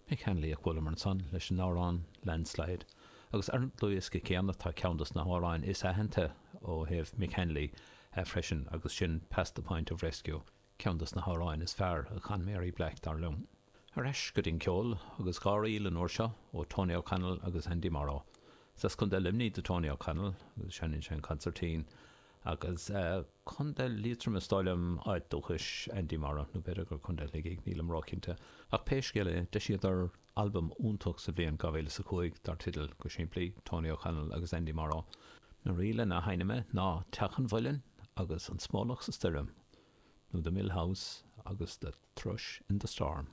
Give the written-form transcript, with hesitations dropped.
Mick Hanley a chualamar ansan leis an amhrán Landslide. Agus ar an dlúthdhiosca céanna tá ceann dos na hamhráin is aitheanta ó thaobh Mick Hanley freisin agus sin Past the Point of Rescue, ceann dos na hamhráin is fearr a chan Mary Black dar liom. Ar ais go dtí an ceol agus dá ríl an uair seo ó Tony O'Connell agus Andy Morrow. Is as Contae Luimnigh do Tony O'Connell agus seinneann sé an consairtín agus Contae Liatroma is dóigh liom áit dúchais Andy Morrow, nó b'fhéidir gur Contae Shligigh, nílim róchinnte. Ach pé scéal é, d'eisíodar albam iontach sa bhliain 2005 dar teideal, go simplí, Tony O'Connell agus Andy Morrow. Na ríleanna a sheinnfidh mé ná Teach an Mhuilinn agus An Smólach sa Stoirm, nó The Mill House agus The Thrush in the Storm.